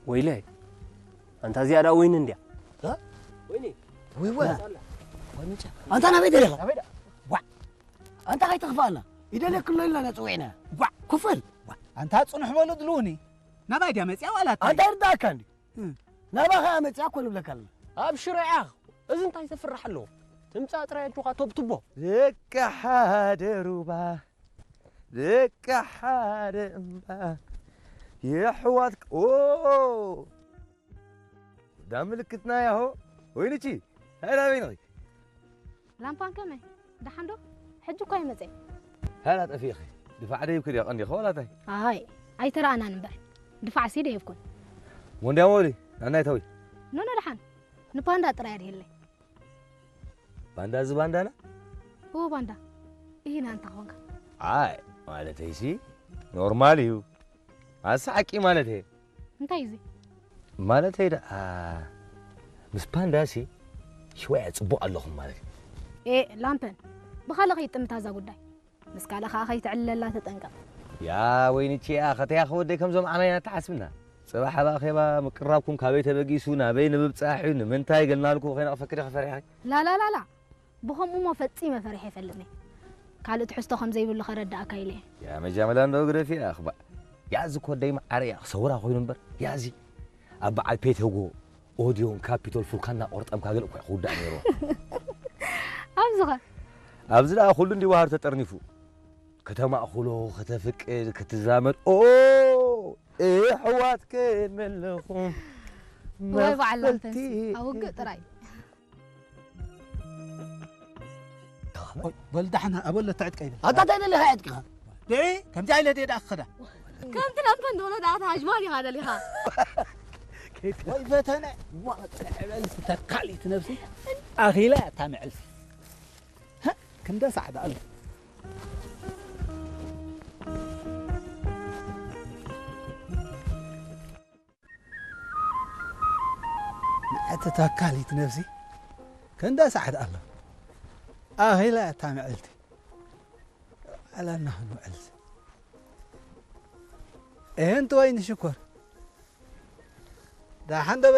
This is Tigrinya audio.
ወይለይ፣ ኣንታ እዚኣ ደኣ ወይኒ እንድያ። እ? ወይኒ። ወይ ወይ። ኣንታ ናበይ ደለኻ? ናበይ ደኣ? ዋ። ኣንታ ከይትኽፋኣና። ይደልየክሎ ኢልና ኢና ጸዊዕና። ዋ። ክፈል። ዋ። ኣንታ ጽኑሕ በሉ ድልውኒ። ናባይ ድያ መጽያ ዋላ ኣታ? ኣንታ ይርዳእካ እንዲ። እም። ናባኻ መጽያ እኮ ንብለካ ኣለና። ኣብ ሽረ ኢኻ። እዚ እንታይ ዘፍርሕ ኣለዎ? ትምጻእ ጥራይ ኣጆኻ ተብትቦ። ደቂ ሓደ ሩባ፣ ደቂ ሓደ እምባ፣ የሕዋት፣ ኦ፣ ዳ ምልክትና ያሆ። ወይንቺ፣ ሃይ ናበይ ነኺ? ላምፓን ከመይ? ደሓን ዶ? ሕጂ እኳ ይመጸ። ሃላ ጠፊእኺ። ድፋዕ ደይብኪ ድያ ቀንዲኺ ዋላ እንታይ? ኣይ፣ ኣይተረኣናን እምበር። ድፋዕሲ ደይብኩን። ሞንድያ ሞሊ፣ ናናይ ተዊ። ኖኖ ደሓን። ንፓንዳ ጥራይ ኣድሂለይ። ባንዳ እዚ ባንዳና? እዎ ባንዳ። ኢሂና እንተ ኾንካ። ኣይ፣ ማለተይሲ ኖርማል እዩ። ኣሰሓቂ ማለት እየ። እንታይ እዩ እዚ? ማለተይ ደኣ፣ ምስ ፓንዳሲ ሽወያ ጽቡቕ ኣለኹም ማለት እዩ። ኤ፣ ላምፐን፣ ብኻልእ ከይትጥምታ እዛ ጉዳይ። ምስ ካልእ ከኣ ከይትዕልለላ ተጠንቀቕ። ያ ወይንቺ፣ ያ ኸተያ ኸወደይ ከምዞም ዓማይና ተሓስብና። ጽባሕ ኣብ ኣኼባ ምቅራብኩም ካበይ ተበጊሱ፣ ናበይ ንምብጻሕ እዩ፣ ንምንታይ ገልናልኩ ከይነቕፈኪ ዲኺ ፈሪሕኺ? ላላላላ፣ ብኸምኡሞ ፈጺመ ፈሪሐ ኣይፈልጥን እየ። ካልእ ትሕዝቶ ከም ዘይብሉ ከረድኣካ ኢለ እየ። ያ መጃመላ እንዶ ግደፊ እያ፣ ኣኽባእ። ያዚ ኮደይ መዓረ እያ፣ ክሰውራ ኮይኑ እምበር። ያዚ ኣብ በዓል ፔተጎ፣ ኦዲዮን ካፒቶል ፉልካ እናቆርጠምካ ገለ እኮ እዩ ክውዳእ ነይርዎ። ኣብዚ ኸ? ኣብዚ ደኣ ኩሉ እንዲ ባህር ተጠርኒፉ። ከተማእኹሎ፣ ከተፍቅድ፣ ክትዛመድ። ኦ፣ እሕዋት ከመለኹም። ወይ በዓል መኽፈልቲ። ላምፐንሲ፣ ኣብ ውግእ ጥራይ። ኦይ፣ በል ዳሕና፣ ኣበለ ተዕጥቀ ይብል። ኣታ እንታይ ደሊኻ ዕጥቅኻ? ደይ፣ ከምዚ ኣይለ ደይ ደኣ ክኸዳ። ከምቲ ላምፐን ዝበሎ ደኣ ተሃጅማል ኢኻ ደሊኻ። ወይ ፈተነ፣ ዋ፣ ዕበል ተካሊት ነብሲ፣ ኣኺላ እታ መዕልቲ። ሃ፣ ክንደ ሳዕ ደኣ ኣሎ። ንዕቲ ተካሊት ነብሲ ክንደ ሳዕ ደኣ ኣሎ። ኣኺላ እታ መዕልቲ። ዕላልና ክንውዕል። እህንቲ ወይኒ ሽኮር። ደሓን ዶ